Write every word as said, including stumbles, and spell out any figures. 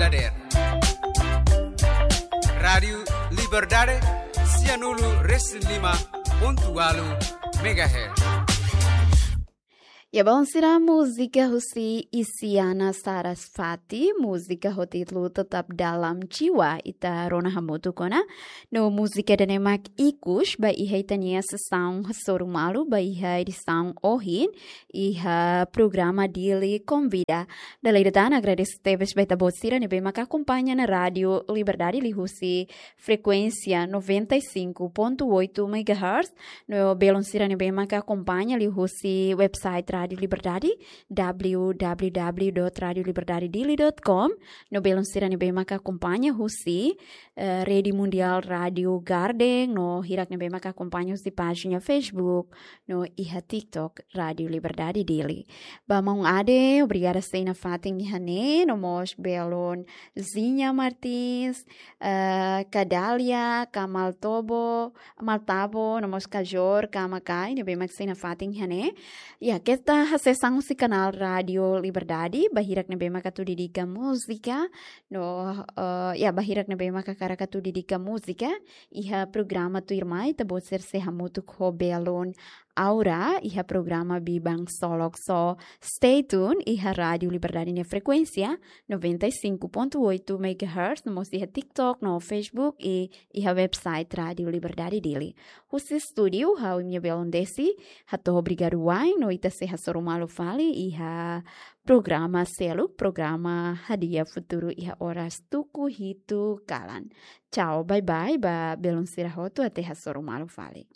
Dader. Rádiu Liberdade, sianulu resin lima pontu ualu megahertz. Ya, balun sira, múzika husi Isyana Sarasvati, múzika ho títulu Tetap Dalam Jiwa, ita rona hamutuk ona. No múzika ida-ne'e mak ikus ba iha ita-nia sesaun hasoru malu ba iha edisaun ohin, iha programa Dili Konvida. Dala ida tan agradese tebes ba ita-boot sira ne'ebé maka akompaña ona Rádiu Liberdade liuhusi frekuénsia noventa e cinco ponto oito megahertz. No belun sira ne'ebé maka akompaña liuhusi website Rádiu Liberdade, w w w dot radio liberdade dili dot com. No belun sira ne'ebé maka akompaña husi, eh, Rede Mundial Rádiu Garden, no hirak ne'ebé maka akompaña husi pájina Facebook, no iha TikTok Rádiu Liberdade Dili. Ba maun Ade, obrigada sei nafatin iha ne'e, no mós belun Zinha Martins, eh, Kadalia, Kamal Tobo, Maltabo, no mós Kajor, Kamakai, ne'ebé mak sei nafatin iha ne'e. Ya, keta hasees an husi kanál Rádiu Liberdade, ba hirak ne'ebé mak atu dedika múzika, no, eh, ya, ba hirak ne'ebé mak hakarak atu dedika múzika, iha programa tuirmai, ita-boot sira sei hamutuk ho belun Aura, iha programa Biban Solok. So, stay tuned, iha Rádiu Liberdade nia frekuénsia, noventa e cinco ponto oito megahertz, no mós iha TikTok, no Facebook, i iha website Rádiu Liberdade Dili. Husi estúdiu, ha'u imi-nia belun Desi, hato'o obrigadu wa'in, no ita sei hasoru malu fali, iha programa seluk, programa Hadi'a Futuru iha oras tuku hitu kalan. Tchau, bye bye, ba belun sira hotu até hasoru malu fali.